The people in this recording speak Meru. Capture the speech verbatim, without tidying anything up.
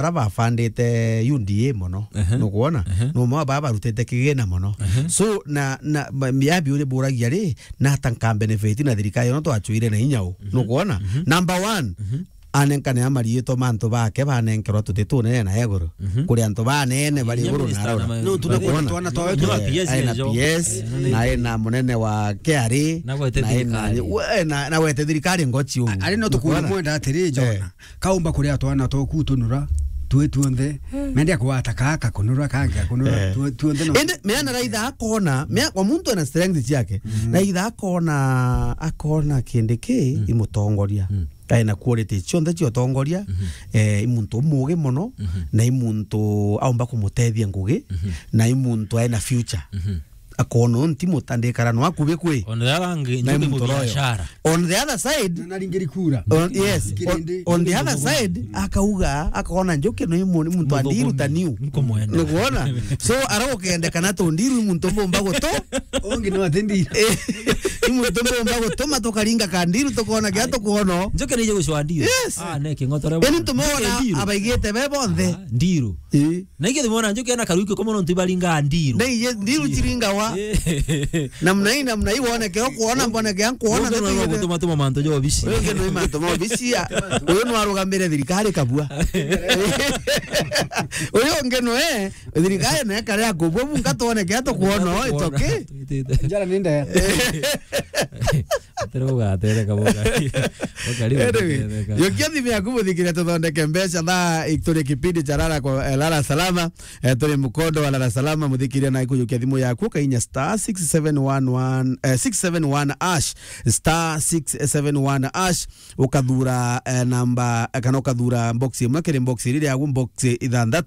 bara bafandite U D A mono. Ehe. Nukwona? Ehe. No mwa ba barutite kigina mono. Ehe. So, na, na, ma-, ya biuri buragia ri, na ata nka benefit na thirikari ino twachwire na inya u. Mhm. Nukwona? Mhm. Number one, mhm, anenkane amariitwa mantu bake banenkerwa tuti tunene na iguru. Mhm. Kuri antu banene bari iguru na arora. No, tunakuona twana twawe twa P S aina P S, eh, na aina munene wa K R A, na gwete na aina thirikari. We, na, na gwete thirikari ngochi umu. A-, ari no tukuona. Nukwona? Mwenda atiri, Jona. Eh. Kaumba kuria twana twaku tunura, twi tuonthe, mende akwata kaka kunura, kangi akunura, eh, twi tuonthe no. Indi, meana raitha akona, mea-, kwa muntu ena strength ciake, mhm, raitha akona, akona kindi ki, mm, imutongoria. Mm. Aina quality cionthe cia utongoria, mhm, eh, i muntu umugi mono, mhm, na i muntu aumba kumutethia ngugi, mhm, na i muntu aina future. Mhm. Akona unti mutandikara no akubi kwi. On the other hand, na Njuki imuntu royo. Mubiashara. On the other side, na naringiri kura. On, yes. Kirindi. On, on the other side, akauga, akona Njuki no imu-, ni muntu andiru ta niu. Nkumwenda. Nukwona? So, aragukendekana tu ndiru i muntu mbumba gutu. Ongi no ati ndiru. Eh, i muntu mbumba gutuma tukaringa ka ndiru tukona kia tukwona. Njuki nije gucwa ndiru. Yes. Ah, ne king'otore. Eni tumona ndiru. Abaigite be bonthe. Ah, ndiru. Eh. Na ingi thimona Njuki ena karuiki komo nontu ibaringa ndiru. Na iye ndiru chiringawa. Eh. Namna hii, namna hii, woneke, ukuona, mboneke, nkuona. Uyu no gutuma tuma mantu ja obici. Uyu ungi no mantu ma obici ya. Uyu no arugamire thirikari kabua. Uyu ungi no, eh, thirikari na ekare akubwa, bunga tuoneke, tukuona, it's okay. Njara ni ndaya. Atere ugatere kaboka. Anyway, yokia thimu yaku muthikire tuthondeke mbeca thaa turi kipindi cha Lala kwa, eh, Lala Salama. Eh, turi mukondo wa Lala Salama, muthikiria na ikujukia thimu yaku, ukainya star six seven one one, eh, six seven one hash, star six seven one hash, ukathura, eh, namba, eh, kana ukathura box imwe kiri box iri riagu box ithanthatu.